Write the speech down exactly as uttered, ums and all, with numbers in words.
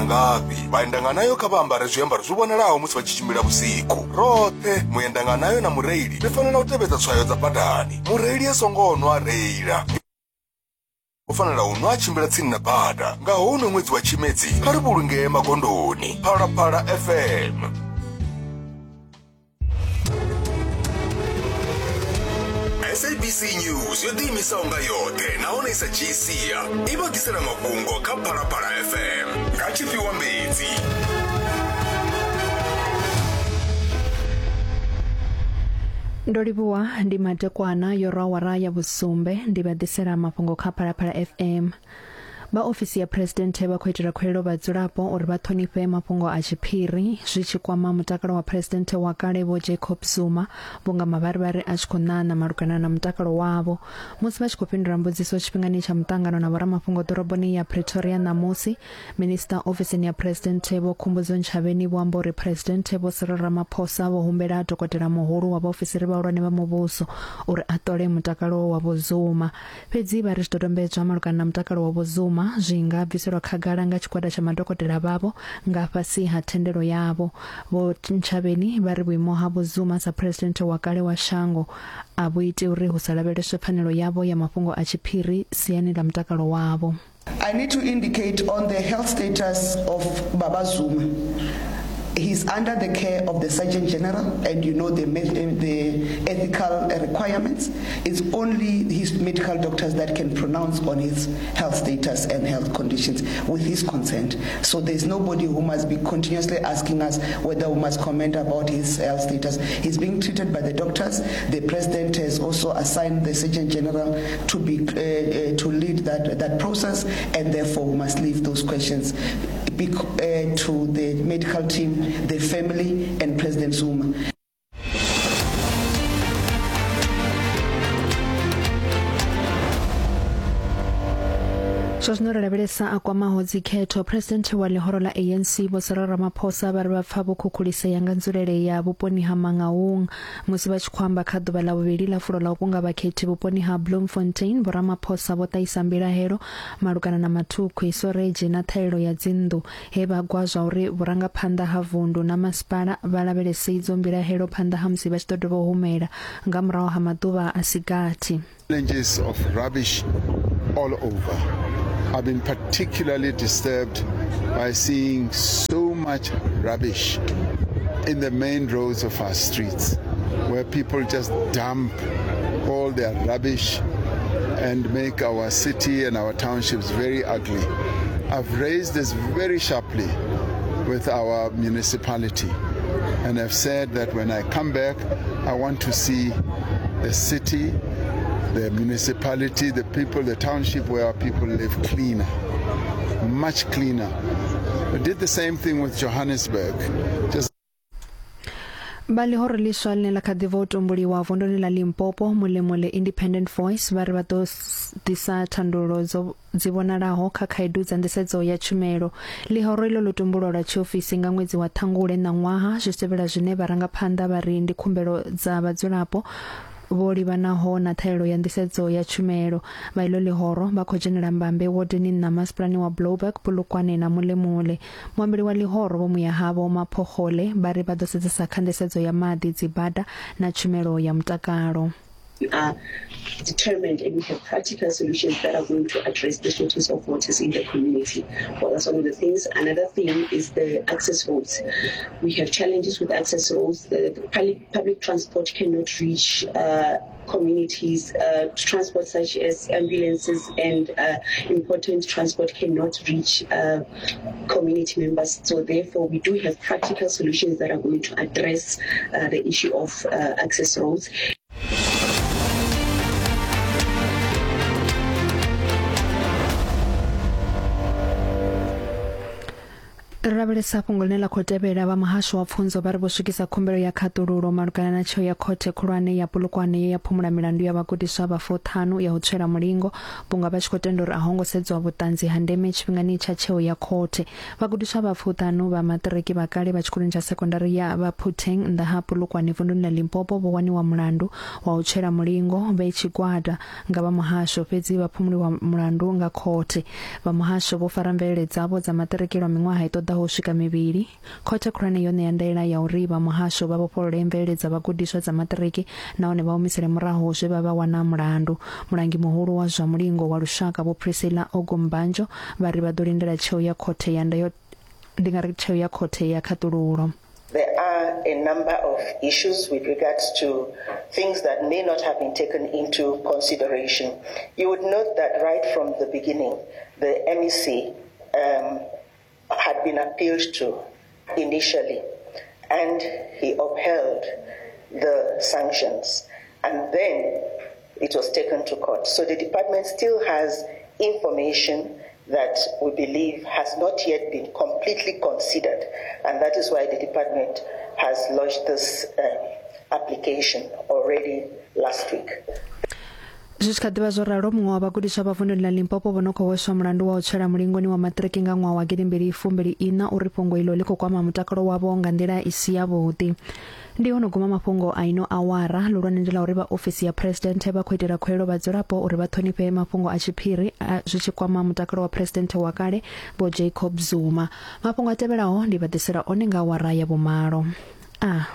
na ngafhi. Vhaendanganayo kha vha ambare zwiambaro zwi vhonalaho musi vha tshi tshimbila vhusiku. Roṱhe muendanganayo na mureili ri fanela u tevhedza tswayo dza badani. Mureili a songo nwa reila. U fanela u nwa a tshimbila tsini na bada. Nga houno ṅwedzi wa Tshimedzi kha ri vhulungee magondoni. Phalaphala F M. S A B C News yo ḓiimisaho nga yoṱhe nahone i sa dzhii sia i vha ḓisela mafhungo kha Phalaphala F M nga Tshifhiwa Mbedzi. Ndo livhuwa ndi madekwana yo rwa awara ya vhusumbe ndi vha ḓisela mafhungo kha Phalaphala F M. Vha ofisi ya presidenthe vha khou itela khuwelelo vhadzulapo uri vha ṱhonifhe mafhungo a tshiphiri zwi tshi kwama mutakalo wa presidenthe wa kale Vho Jacob Zuma vhunga mavharivhari a tshi khou ṋaṋa malugana na mutakalo wavho. Musi vha tshi khou fhindula mbudziso tshifhingani tsha muṱangano na vhoramafhungo ḓoroboni ya Pretoria ṋamusi, minista ofisini ya presidenthe Vho Khumbudzo Ntshavheni vho amba uri presidenthe Vho Cyril Ramaphosa vho humbela dokotela muhulu wa vhaofisiri vhahulwane vha muvhuso uri a ṱole mutakalo wa Vho Zuma. Fhedzi vha ri zwidodombedzwa malugana na mutakalo wa Vho Zuma zwi nga bviselwa khagala nga tshigwada tsha madokotela vhavho nga fhasi ha thendelo yavho. Vho Ntshavheni vha ri vhuimo ha Vho Zuma sa presidenthe wa kale wa shango a vhu iti uri hu sa lavheleswe pfanelo yavho ya mafhungo a tshiphiri siani ḽa mutakalo wavho. I need to indicate on the health status of Baba Zuma. He's under the care of the Surgeon General, and you know the, the ethical requirements. It's only his medical doctors that can pronounce on his health status and health conditions with his consent. So there's nobody who must be continuously asking us whether we must comment about his health status. He's being treated by the doctors. The president has also assigned the Surgeon General to be uh, uh, to lead that, that process, and therefore we must leave those questions uh, to the medical team, the family, and President Zuma. Zwa zwino ri lavhelesa a kwamaho dzikhetho. President wa ḽihoro ḽa A N C Vho Cyril Ramaphosa vha ri vha pfa vho khukhulisea nga nzulele ya vhuponi ha Mangaung musi vha tshi khou amba kha ḓuvha ḽa vhuvhili ḽa fulo ḽa u kunga vhakhethi vhuponi ha Bloemfontein. Vho Ramaphosa vho ṱahisa mbilahelo malugana na mathukhwi, soredzhi na ṱhahelelo ya dzinnḓu, he vha gwa zwa uri vhurangaphanḓa ha vundu na masipala vha lavhelese idzo mbilahelo phanḓa ha musi vha tshi ḓo dovha u humela nga murahu ha maḓuvha a si gathi. Challenges of rubbish all over. I've been particularly disturbed by seeing so much rubbish in the main roads of our streets, where people just dump all their rubbish and make our city and our townships very ugly. I've raised this very sharply with our municipality, and I've said that when I come back, I want to see the city, the municipality, the people, the township where our people live cleaner, much cleaner. We did the same thing with Johannesburg. Just Vha ḽihoro ḽiswa ḽine ḽa kha ḓi bva u tumbuliwa vunduni ḽa Limpopo, Mulemole Independent Voice, vha ri vha ḓo ḓisa thandululo dzo dzi vhonalaho kha khaedu dza nḓisedzo ya tshumelo. Ḽihoro iḽo ḽo tumbulwa lwa tshiofisi nga ṅwedzi wa Ṱhangule ṋaṅwaha, zwi tevhela zwine vharangaphanḓa vha ri ndi khumbelo dza vhadzulapo vho livhanaho na ṱhahelelo ya nḓisedzo ya tshumelo. Vha iḽo ḽihoro vha khou dzhenela mbambe wodeni nṋa masipalani wa Blouberg, Polokwane na Mulemule. Muambeli wa ḽihoro Vho Muyahavho Maphoxole vha ri vha ḓo sedzesa kha nḓisedzo ya maḓi, dzibada na tshumelo ya mutakalo. We are determined and we have practical solutions that are going to address the shortage of waters in the community. Well, that's one of the things. Another thing is the access roads. We have challenges with access roads. The, the public, public transport cannot reach uh, communities. Uh, transport such as ambulances and uh, important transport cannot reach uh, community members. So therefore, we do have practical solutions that are going to address uh, the issue of uh, access roads. Ri lavhelesa fhungo ḽine ḽa khou tevhela. Vha muhasho wa pfunzo vha ri vho swikisa khumbelo ya khaṱululo malugana na tsheo ya khothe khulwane ya Polokwane ye ya phumula milandu ya vhagudiswa vha fuṱhanu ya u tswela mulingo, vhunga vha tshi khou tenda uri a ho ngo sedzwa vhuṱanzi ha ndeme tshifhingani tsha tsheo ya khothe. Vhagudiswa vha fuṱhanu vha maṱiriki vha kale vha tshikoloni tsha sekondari ya Baphutheng nnḓa ha Polokwane vunduni ḽa Limpopo vho waniwa mulandu wa u tswela mulingo vhe tshigwada nga vha muhasho, fhedzi vha phumuliwa mulandu nga khothe. Vha muhasho vho fara mvelele dzavho dza maṱiriki lwa miṅwaha i ṱoḓaho u swika mivhili. Khothe khulwane yo ṋea ndaela ya uri vha muhasho vha vhofholole mvelele dza vhagudiswa dza maṱiriki nahone vha humisele murahu zwe vha vha wana mulandu. Mulangi muhulu wa zwa mulingo wa lushaka Vho Priscilla Ogumbanjo vha ri vha ḓo lindela tsheo ya khothe ya ndayo ndi nga ri tsheo ya khothe ya khaṱululo. There are a number of issues with regards to things that may not have been taken into consideration. You would note that right from the beginning, the M E C um, had been appealed to initially, and he upheld the sanctions, and then it was taken to court. So the department still has information that we believe has not yet been completely considered, and that is why the department has lodged this uh, application already last week. Zwi tshi kha ḓivha zwo ralo, muṅwe wa vhagudiswa vha vunduni ḽa Limpopo vho no khou hweswa mulandu wa u tswela mulingoni wa maṱiriki nga ṅwaha wa gidimbili fumbili ina uri fhungo ilo ḽi khou kwama mutakalo wavho nga nḓila i si yavhuḓi. Ndi ho no guma mafhungo a ino awara. Luhulwane ndi ḽa uri vha ofisi ya presidenthe vha khou itela khuwelelo vhadzulapo uri vha ṱhonifhe mafhungo a tshiphiri zwi tshi kwama mutakalo wa presidenthe wa kale Vho Jacob Zuma. Mafhungo a tevhelaho ndi vha ḓisela one nga awara ya vhumalo. A